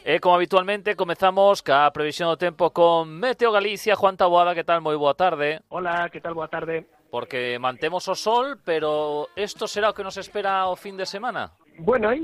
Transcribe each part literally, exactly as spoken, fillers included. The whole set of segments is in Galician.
E como habitualmente comezamos ca previsión do tempo con Meteo Galicia. Juan Taboada, que tal? Moi boa tarde. Hola, que tal? Boa tarde. Porque mantemos o sol, pero isto será o que nos espera o fin de semana? Bueno, hai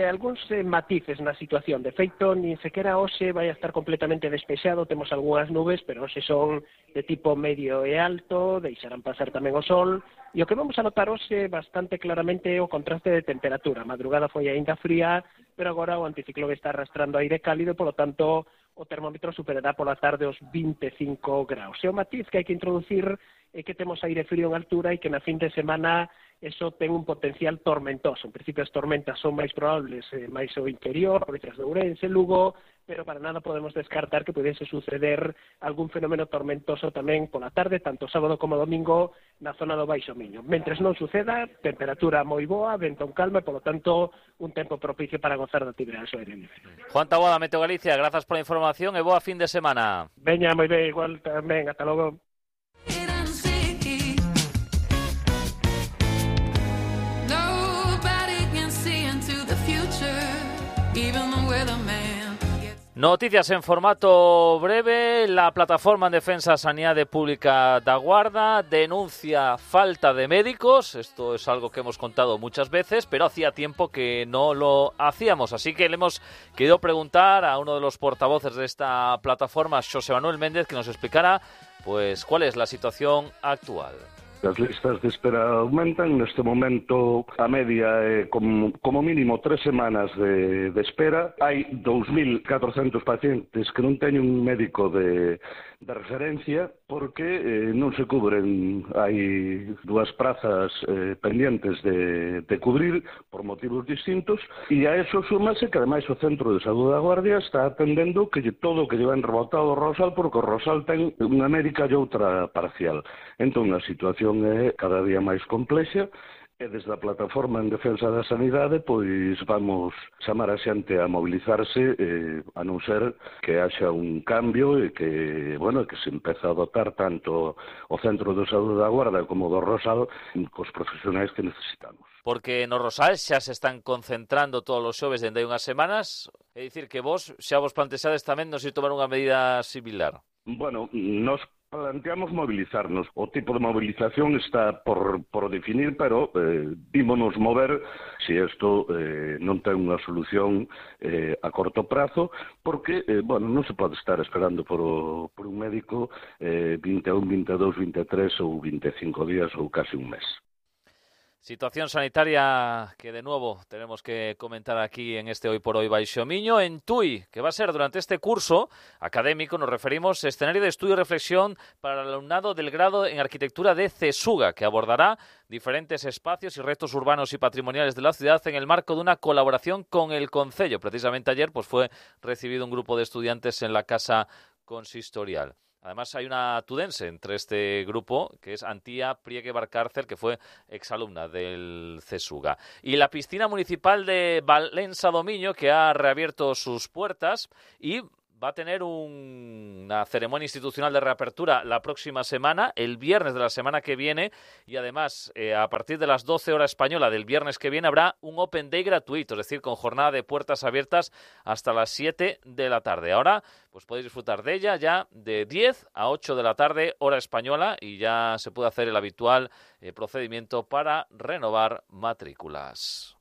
algúns eh, matices na situación. De feito, nin sequera hoxe vai a estar completamente despexado. Temos algunhas nubes, pero hoxe son de tipo medio e alto, deixarán pasar tamén o sol. E o que vamos a notar hoxe bastante claramente é o contraste de temperatura. A madrugada foi aínda fría, pero agora o anticiclón está arrastrando aire cálido, e, polo tanto, o termómetro superará pola tarde os vinte e cinco graus. E o matiz que hai que introducir é que temos aire frío en altura e que na fin de semana eso ten un potencial tormentoso. En principio as tormentas son máis probables eh, máis ao interior, provincias de Ourense, Lugo, pero para nada podemos descartar que pudese suceder algún fenómeno tormentoso tamén pola tarde, tanto sábado como domingo, na zona do Baixo Miño. Mentres non suceda, temperatura moi boa, vento en calma e, polo tanto, un tempo propicio para gozar da actividade ao aire libre. Juan Taboada, Meteo Galicia, grazas pola información e boa fin de semana. Veña, moi ben, igual tamén, ata logo. Noticias en formato breve. La Plataforma en Defensa de Sanidade Pública da Guarda denuncia falta de médicos. Esto es algo que hemos contado muchas veces, pero hacía tiempo que no lo hacíamos. Así que le hemos querido preguntar a uno de los portavoces de esta plataforma, Xosé Manuel Méndez, que nos explicara pues cuál es la situación actual. As listas de espera aumentan. Neste momento a media é como, como mínimo tres semanas de, de espera. Hai dous mil catrocentos pacientes que non teñen un médico de, de referencia porque eh, non se cubren. Hai dúas prazas eh, pendientes de, de cubrir por motivos distintos, e a eso súmase que ademais o Centro de Saúde da Guardia está atendendo que todo o que llevan rebotado o Rosal, porque o Rosal ten unha médica e outra parcial. Entón a situación é cada día máis complexa, e desde a Plataforma en Defensa da Sanidade pois vamos chamar a xente a mobilizarse, eh, a non ser que haxa un cambio e que, bueno, que se empeza a dotar tanto o Centro de Saúde da Guarda como do Rosal cos profesionais que necesitamos. Porque no Rosal xa se están concentrando todos os xoves dende hai unhas semanas, é dicir que vos xa vos plantexades tamén non se tomar unha medida similar. Bueno, nos planteamos mobilizarnos. O tipo de movilización está por, por definir, pero eh, vímonos mover se isto eh, non ten unha solución eh, a corto prazo, porque, eh, bueno, non se pode estar esperando por, o, por un médico eh, vinte e un, vinte e dous, vinte e tres ou vinte e cinco días ou casi un mes. Situación sanitaria que de nuevo tenemos que comentar aquí en este Hoy por Hoy Baixo Miño. En Tui, que va a ser durante este curso académico, nos referimos a escenario de estudio y reflexión para el alumnado del grado en arquitectura de CESUGA, que abordará diferentes espacios y retos urbanos y patrimoniales de la ciudad en el marco de una colaboración con el Concello. Precisamente ayer pues fue recibido un grupo de estudiantes en la Casa Consistorial. Además hay una tudense entre este grupo, que es Antía Priegue Barcárcel, que fue exalumna del CESUGA. Y la piscina municipal de Valença do Miño, que ha reabierto sus puertas y va a tener un, una ceremonia institucional de reapertura la próxima semana, el viernes de la semana que viene, y además eh, a partir de las doce horas española del viernes que viene habrá un Open Day gratuito, es decir, con jornada de puertas abiertas hasta las siete de la tarde. Ahora pues podéis disfrutar de ella ya de diez a ocho de la tarde, hora española, y ya se puede hacer el habitual eh, procedimiento para renovar matrículas.